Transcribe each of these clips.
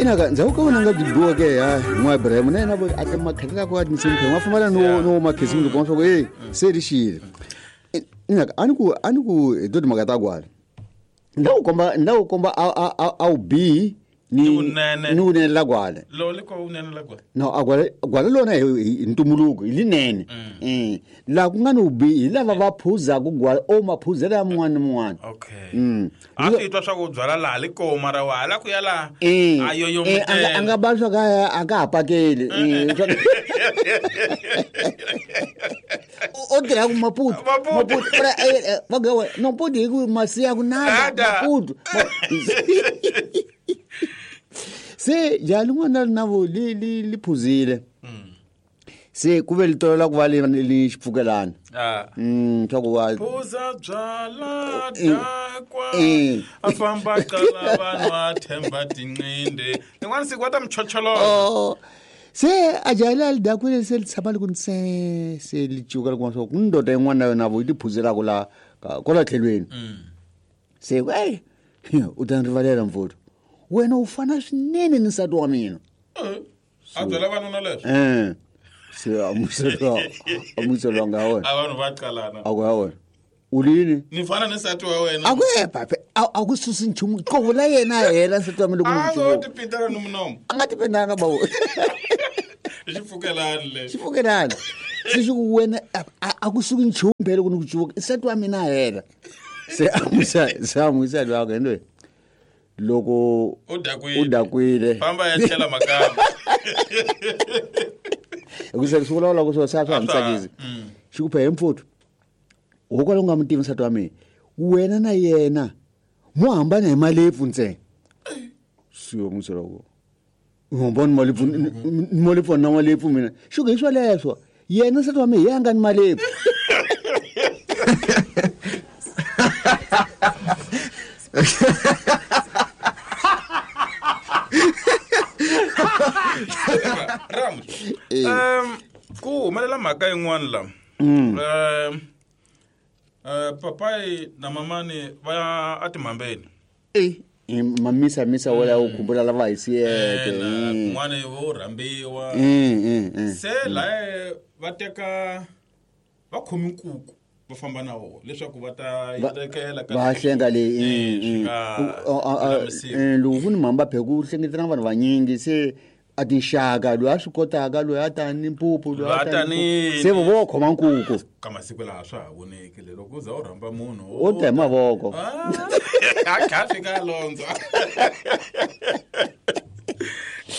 Inaka ndzhaku ka vona nga byi biweke ya n'wa Ibrahim na yena a ti makhalela ku a tinsimu ma fambana no no makhisimusi kuma swa ku e se ri xile. Inaka a ni ku hi to timhaka ta gwala ni la ku komba a wu bihi ni Ni vunene. Ni vunene la gwala. Lo le ko vunene la gwala. No, a gwala, gwala lona hi ntumbuluko hi linene. Laha ku nga ni vubihi hi lava va phuzaku gwala o maphuzelo ya mun'wana ni mun'wana. A swi twa swa ku byala laha li ko mara wa hala ku ya laha a yoyo. A nga ba swa ka a nga ha pakeli. O tirha ku Maputo. Maputo. Maputo. Ora, va ga no Maputo hi ku masiya ku nada. Nada. Maputo se ja lin'wana ri na vo li phuzile se ku ve li tolela ku va li xipfukelana. Swa ku va Phuza byala dakwa. A famba qala vanhu a themba tinqinde rin'wana siku va ta michocholoza. Oh, se a jahile a li dakwile se li tshama li ku ntse se li cuka li kuma swa ku ndoda yin'wana na yona vo yi ti phuzelaka la kwala tlhelweni. Se ku ey, u ta ni rivalela mfuto, wena u fana swinene ni nsati wa mina. A byela vanuna leswo. Se amuselo nga wena. A vanhu va qalana. A ku ya wena u lini? Ni fana ni nsati wa wena. A ku e pape a ku susi nchumu qovo la yena a hela nsati wa mina loko A ni ngo n'wi tipitela ni munomo. A nga tipendanga bawo. I xipfukelani lexi. Xipfukelani se xi ku wena a ku suki nchumu phela ku ni ku cuvuka nsati wa mina a hela se amusa se amusa lwako ende loko u dakwile. U dakwile. Famba ya tlhela makamba. Hikusa swi vulavula ku swo se a swa ha A ni swa ha- tsakisi. Xi ku phe mfuthu hokwalaho u nga mi tivi nsati wa mina, wena na yena mo hambana hi malepfu ntsena. Siyo museloko u hambana ni malepfu ni malepfu na malepfu mina xi ku hi swoleswo yena nsati wa mina hi ya nga ni malepfu. Ramu, ku humelela mhaka yin'wana la. Papayi na mamani va ya atimhambeni. Mamisa misa wala u khumbula lava hi siyeke. Kun'wana vo rhambiwa. Se laye va teka va khomi nkuku va famba na wona leswaku va ta yi tekela va hlenga leyi. Swi nga lulamisiwa. Loko ku ni mhamba phe ku hlengetelana vanhu vanyingi se a tinxaka loyi a swi kotaka loyi a tani mpupu loyi Loyi a a tani tani se vo vo khoma nkuku. Ka masiku laha swa ha voneki le loko u za u rhamba munhu. U ta hi mavoko. A kha fika a londzwa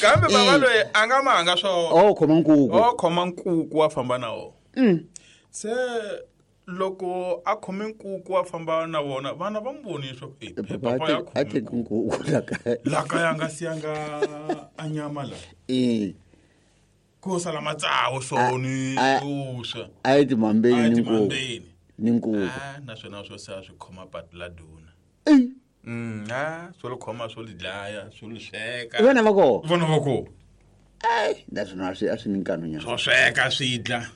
kambe bava loyi a nga manga swona. O khoma nkuku. O khoma nkuku wa famba na wona. Se loko a khome nkuku wa famba na vona vana va n'wi vonile swa ku eh, papa ya a khome teki nkuku la kaya. La kaya a nga siyanga a nyama la. Ko sala matsawu so ni vuswa. A yi timhambeni. A yi Ni nkuku. timhambeni. Ni nkuku. Ah, naswona swo se a swi khoma patu la duna. A swo li khoma swo li dlaya swo li sweka. Vana va kona. Vona va kona. Ai, naswona a swi ni nkanu nyana. Swo sweka swi dla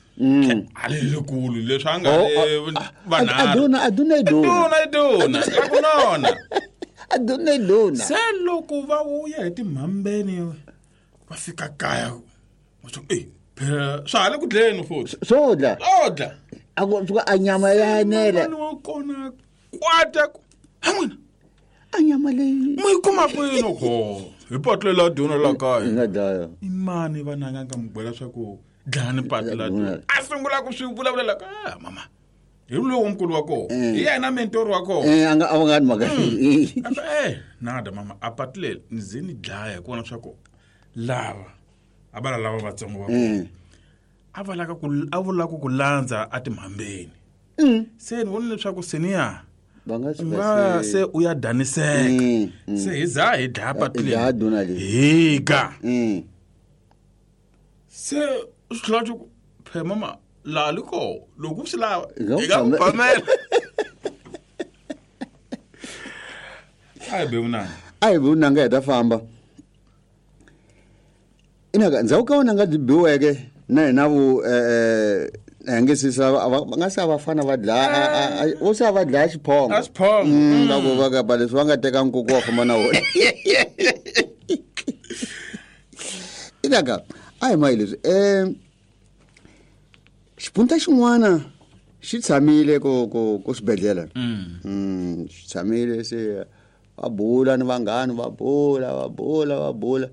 a li likulu leswi a nga Oh, le vanharhu. Aduna aduna iduna. Duna iduna la ku nona. Aduna iduna. Se loko va vuya hi timhambeni va fika kaya va swa e phela swa ha le ku dleni futhi. Swo dla. Swo dla. A ku suka a nyama ya enela. Mani wa kona kwata ku ha n'wina a nyama leyi mi yi kuma kwini ko hi patu lela duna la yi kaya nga dlaya. I mani vananga nga mi byela swa ku dlani patu la Duna. duna a sungula ku swi vulavulela ka ah, mama hi lowu nkulu wa kona hi yena mentori wa kona. A nga a va nga ni mhaka. A ku, nada mama a patu leri ni ze ni dlaya hi kona swa ku lava a va la lava vatsongo va kona a va laka ku a vulaka ku landza a timhambeni se ni vona leswaku seniya Va nga u suka nga se u ya daniseka. Se hi za hi dlaya patu Hi dlaya duna leri leyi. hi ga se swi tlhela swi ku phe mama laha li koho loko u swi lava Hi nga hi nga ku ku phamela a hi be vunanga. A hi vunanga hi ta famba inaka ndzhaku ka wona nga byi biweke na hina vu hi nge sisa va nga se a vafana va dlaya vo se a va dlaya xiphongo. A xiphongo. Va ku va kapa leswi va nga teka nkuku wa famba na wona. Inaka a hi mayi leswi xipunta xin'wana xi tshamile ko swibedhlele. Xi tshamile se va bula ni vanghani va bula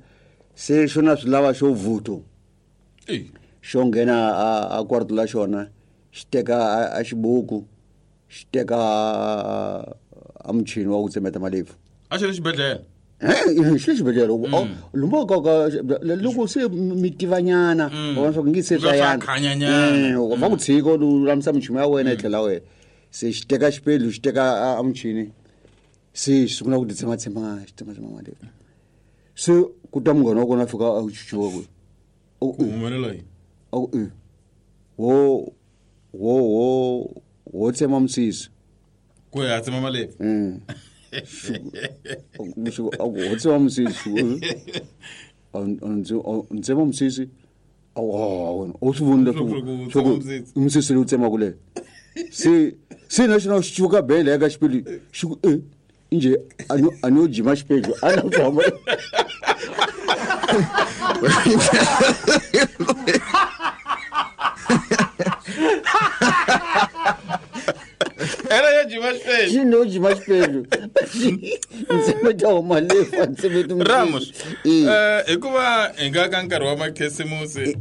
se xona swi lava xo vuto. Xo nghena a kwarto la xona xi teka a xibuku xi teka a muchini wa ku tsemeta malepfu. A xi ri xibedhlele? Xi ri xibedhlele. Lumba ka loko se mi tivanyana wa swa ku ngi se swa yana. Va ku tshika u lulamisa michumu ya wena yi tlhela wena. Se xi teka xipedlu xi teka a muchini se xi sungula ku ti tsematsema xi tsematsema malepfu. Se ku ta munghana wa kona a fika a chuchuka ku ku humelela yini? A ku wo tsema misisi. Ku ya tsema malepfu. Wo tsema misisi. Ntsema misisi. O swi vonile swa ku misisi leyi u tsemaka leyi. Se na xona xi cuka bele eka xipidi xi ku nje a no jima xipedlu a na ku hamba. Era ya jima xipedlu. Xi no jima xipedlu. Ntsemeta wa malepfu a ntsemeti misisi. Ramos, hikuva hi nga ka nkarhi wa makhisimusi,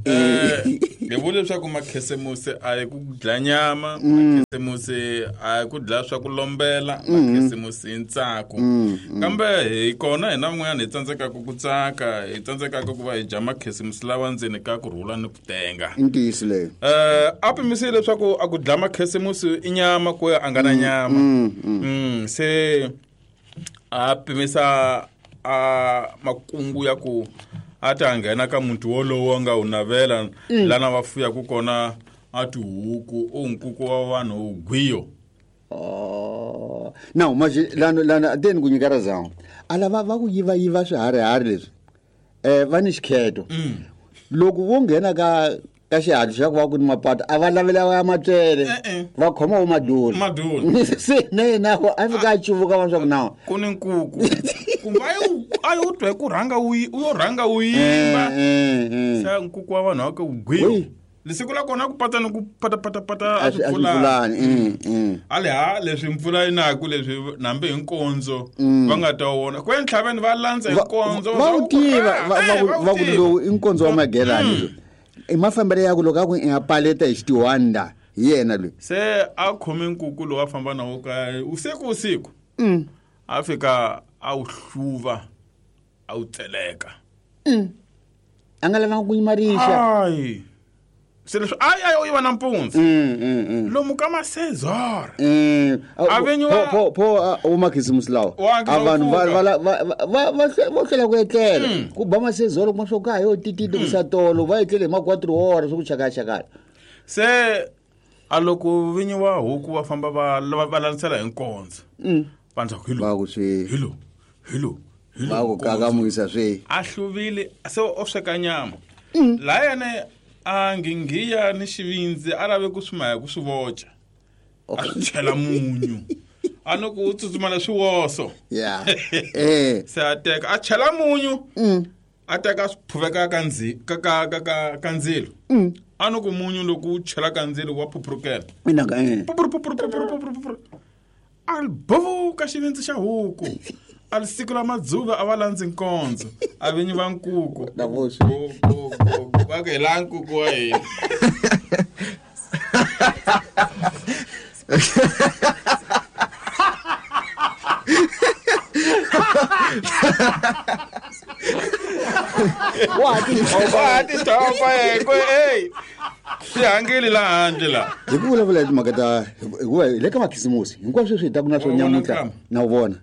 hi vule leswaku makhisimusi a hi ku dlaya nyama, makhisimusi a hi ku dlaya swa ku lombela, makhisimusi i ntsako. Kambe hi kona hina van'wanyana hi tsandzekaka ku tsaka, hi tsandzekaka ku va hi dya makhisimusi lawa ndzeni ka ku rhula ni ku tenga. I ntiyiso leyo. A pimisile leswaku a ku dlaya makhisimusi i nyama ku ya a nga na nyama. Se a pimisa a makungu ya ku a ta nghena ka muti wolowo a nga wu navela lana va fuyaka kona a tihuku u nkuku wa vanhu gwiyo. Now manje lana ateni ku nyika razango a lava va ku yiva swiharihari leswi va ni xikheto. Loko vo nghena ka xihatlu xa ku va ku ni mapato a va lavela ya matswele va khoma wo madula. Se na yena a fika a cuvuka va swa ku nawu ku ni nkuku kumbe a yo twa ku rhanga u yo rhanga u yimba. Se nkuku wa vanhu wa ku gwiyo. Lesiku la kona ku pata ni ku pata pata pata a swi pfulani. Ale ha leswi mpfula yi naku leswi nambe hi nkondzo va nga ta wona. Ku entlhaveni va landza hi nkondzo va wu tiva va ku lowu i nkondzo wa magelani lowu. I mafambelo ya ku loko a ku i nga paleta hi xitiwanda hi yena loyi. Se a khome nkuku lowu a famba na wo kaya usiku. A fika a wu hluva a wu tseleka. A nga lavanga ku yima rixa. Ai. Se leswi a yo yiva nampundzu. Lomu ka masezora. A venyiwa pho o makhisimusi lawa. A vanhu va hlwela ku etlela. Ku ba masezora kuma swo ka yo tititi ku sa tolo va etlele hi ma 4 hora swo ku chakachakala. Se a loko vinyiwa huku va famba va landzelela hi nkondzo. Vanhu ku hilo. Va ku swi. Hilo. Hilo. Va ku kakamisa swi. A hluvile se o sweka nyama. La yena a ngingiya ni xivindzi a lave ku swi maya ku swi voca. A swi chela munyu. A no ku tsutsuma leswi woso. Yeah. Se a teka a chela munyu. A teka swi phuveka ka ka ndzilo. A no ku munyu loko u chela ka ndzilo wa phuphurukela. Ina ka Phuphuru phuphuru phuphuru phuphuru. A bovuka xivindzi xa huku. A li siku la madzuva a va landzi nkondzo. A vinyi va nkuku. Na voxe. Go go go. Va ku hi la nkuku wa hina. Wa ti thopa hey. Swi hangile la handle la. Hi ku vulavula hi timhaka ta hikuva hi le ka makhisimusi hinkwaswo sweswi hi ta ku na swo nyamuntlha na wu vona.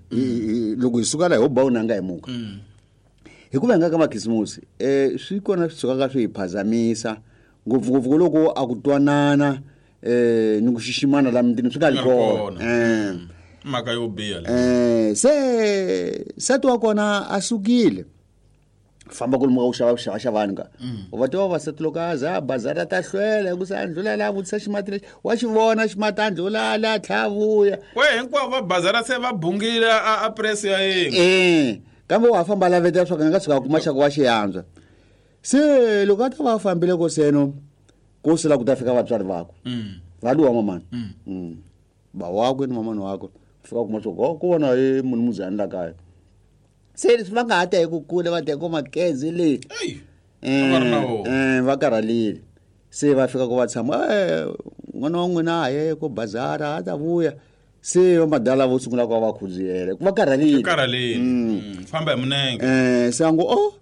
Loko hi suka la hi ho ba unanga hi muka. Hikuva hi nga ka makhisimusi swi kona swi sukaka swi hi phazamisa ngopfungopfu loko a ku twanana ni ku xiximana la mutini swi nga ri kona. Mhaka yo biha leyi. Se nsati wa kona a sukile. Famba ku lomu ka ku xava xavaxavani ka. U va tiva vavasati loko a za bazara ta hlwela ku sa ndlula la vutisa ximati lexi wa xi vona ximati a ndlula la tlha vuya. We hinkwavo va bazara se va bungile a press ya yena. Kambe wa famba lavetela swa ku nga tshuka a kuma xa ku wa xi yantswa. Se loko a ta va a fambile ko seno ko sela ku ta fika vatswari vakwe va luwa mamani. Ba wakwe ni mamani wakwe fika kuma swo ko ku vona i munhu muzani la kaya. Se leswi va nga ha ta hi ku kule va ta hi ko makeze le. Ei, a va ri na wona. Va karhalile. Se va fika ku va tshama, n'wana wa n'wina a ye ko bazara a ta vuya. Se va madala vo sungula ku va va khudziyela ku va karhalile. Karhalile. Famba hi munenge. Se a ngo o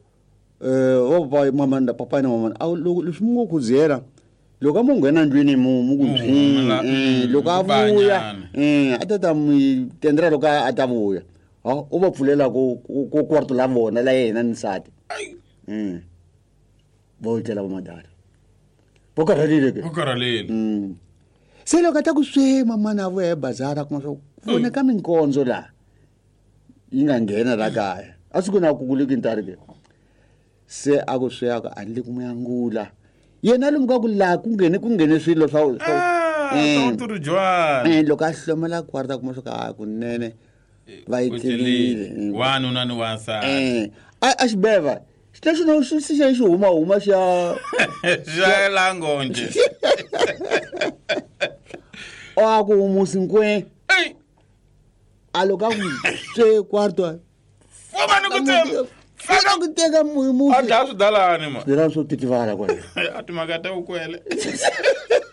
o papa mama na papa na mama a loko leswi mu ngo khudziyela loko a mu nghena ndlwini mu ku Mu byi humela, loko a ku ba vuya nyana. A ta ta mi tendrela loko a ta vuya. Ha u va pfulela ku kwarto la vona la yena ni nsati. Ai. Va etlela va madala. Va karhalile ke. Va karhalile. Se loko a ta ku swe mamana a vuya hi bazara kuma swa ku voneka minkondzo laha yi nga nghena la kaya. A swi ku na ku kuleki ntari ke. Se a ku swe a ku a ni le ku mu yangula. Yena lomu ka ku laha ku nghene swilo swa Ah, swa ku ri jwani. Loko a hlomela kwarta kuma swa ku a kunene va yi tlelile. Wanuna ni wansati. A xibeva xi no xi xi xi huma huma xa Xa la ngonje. O a ku musi nkwe. Ei. A loko a ku swe kwarta. Fuma ni ku tsema. Faka ku teka musi. A dlaya swidalani ma. Swidalani swo titivala kwale. A timhaka ta vukwele.